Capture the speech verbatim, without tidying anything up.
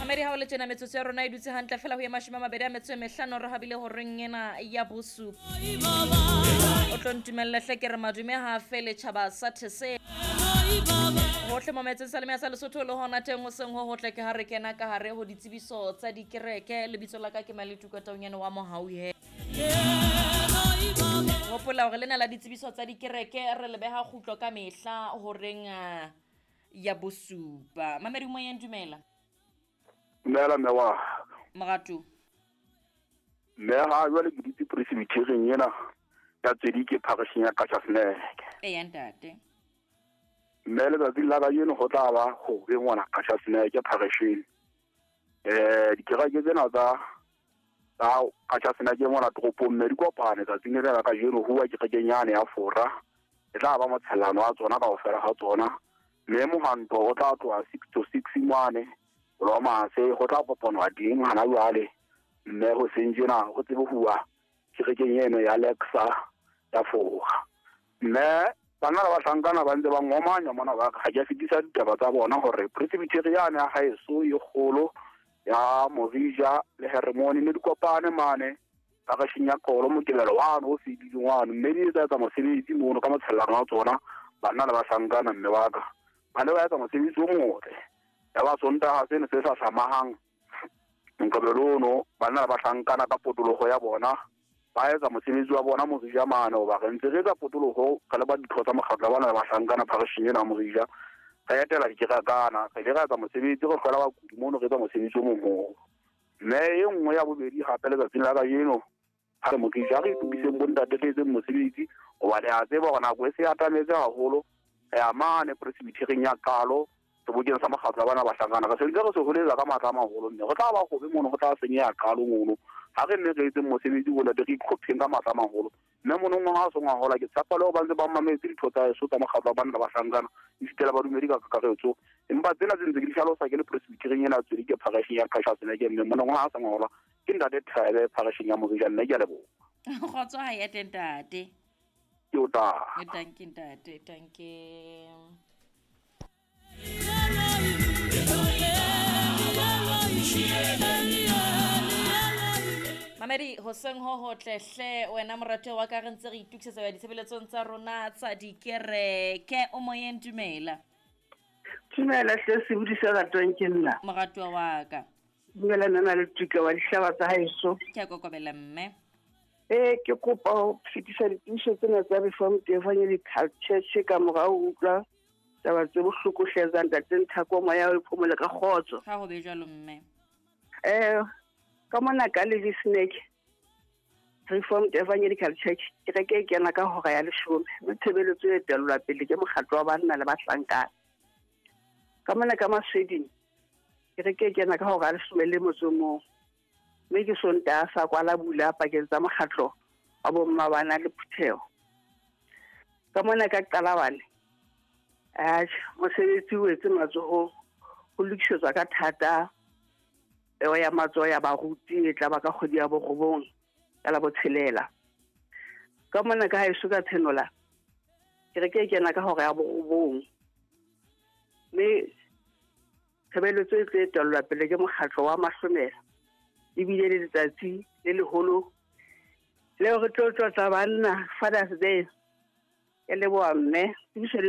Mamedi ha o le tjena metsotso ya rona e dutse hantle fela ho ya mashome a mabedi a metso e mehlano re habile horeng ena ya bosupa. O tlo ntumelle hle ke re madume ha fele tjhaba sa Theseng. Hohle mo metseng sa lemea sa Lesotho le hona teng ho seng ho hotle ke ha re kena ka hare ho ditsebiso tsa dikereke. Lebitso la ka ke Maletuka Taunyane wa Mohauhe. Hopola hore lena la ditsebiso tsa dikereke re le beha kgutlo ka mehla horeng ya bosupa. Mamedi moyeng dumela. Dumela mme wa. Moratu. Mme ha jwale ke dutse presbyterian ena ya Tswedike parish ya Qachaseneke. Eya ntate. Mme letsatsi la kajeno ho tla ba hobe ngwana Qachaseneke parisheng. Eh dikereke tsena tsa tsa Qachaseneke mona toropong mme di kopane tsatsing lena la kajeno ho wa kerekeng yane ya Fora. E tla ba motshellano wa tsona kaofela ha tsona. Mme mohanto o tla tloha six to six mane Roma se ho tla kopanwa teng hana jwale mme ho seng tjena ho tsebe huwa kerekeng eno ya Lexa ya Fora. Mme bana ba bahlankana ba ntse ba ngomanya mona ba ha ke fetisa ditaba tsa bona hore presbyterian ya haeso e kgolo ya Morija le Hermone ne di kopane mane parisheng ya Qolo Mokebelo wa no fedileng wa mme di etsa tsa mosebetsi mono ka motshellano wa tsona bana le bahlankana mme ba ka ba ne ba etsa mosebetsi o motle. Ya ba Sontaha seno se sa hlamahang Mokebelo ono bana le bahlankana ka potologo ya bona ba etsa mosebetsi wa bona Morija mane hoba re ntse re etsa potologo ka le ba ditho tsa mokgatlo wa bana le bahlankana parisheng ena ya Morija. Re etela dikerekana re ile ra etsa mosebetsi re hlola bakudi mono re etsa mosebetsi o moholo. Mme e nngwe ya bobedi hape letsatsing la kajeno ha re Morija re itokiseng bontate re etseng mosebetsi hoba le a tseba hore nako e se atametse haholo. Re ya mane presbyterian ya Qalo sebokeng sa mokgatlo wa bana bahlankana re sentse re se holetsa ka matla a maholo mme re tla ba hobe mono ho tla senyeha Qalo mono. Ha re nne re etseng mosebetsi bontate re itlhopheng ka matla a maholo mme monong ha o sengwa hola ke tshepa le ho ba ntse ba mametse ditho tsa eso tsa mokgatlo wa bana bahlankana esita le badumedi ka kakaretso. Empa tsena tse ntse ke di hlalosa ke le presbyterian ena Tswedike parisheng ya Qachaseneke mme monong ha sengwa hola ke ntate Thebe parisheng ya Morija nne ke a leboha. Kgotso ha ya teng ntate. Ke o tla. Danke ntate, danke. Mamedi hoseng ho hotle hle wena morate wa ka re ntse re itokisetsa ya ditshebeletsong tsa rona tsa dikereke. O moyeng dumela. Dumela hle sebudi se ratwang ke nna. Moratuwa wa ka. Dumela nna le tuka wa dihlaba tsa haeso. Ke a kokobela mme. Eh ke kopa ho fetisa ditiiso tsena tsa Reformed Evangelical Church ka morao ho utlwa taba tse bohloko hle tsa ntate Nthako moya o phomole ka kgotso. Ha ho be jwalo mme. Eh ka mona ka Levisneke Reformed Evangelical Church kereke e kena ka hora ya leshome mme tshebeletso e etellwa pele ke mokgatlo wa banna le bahlankana. Ka mona ka Masweding kereke e kena ka hora ya leshome le motso o mong mme ke Sontaha sa kwala bula pakeng tsa mokgatlo wa bomma bana le phutheho. Ka mona ka Qalabane atjhe mosebetsi o etse matsoho ho lokisetswa ka thata peo ya matsoho ya baruti e tla ba ka kgwedi ya borobong ka la botshelela. Ka mona ka haeso ka Tshenola kereke e kena ka hora ya borobong mme tshebeletso e tlo etellwa pele ke mokgatlo wa Mahlomela ebile le letsatsi le leholo leo re tlo tlotla banna Father's Day. Ke leboha mme.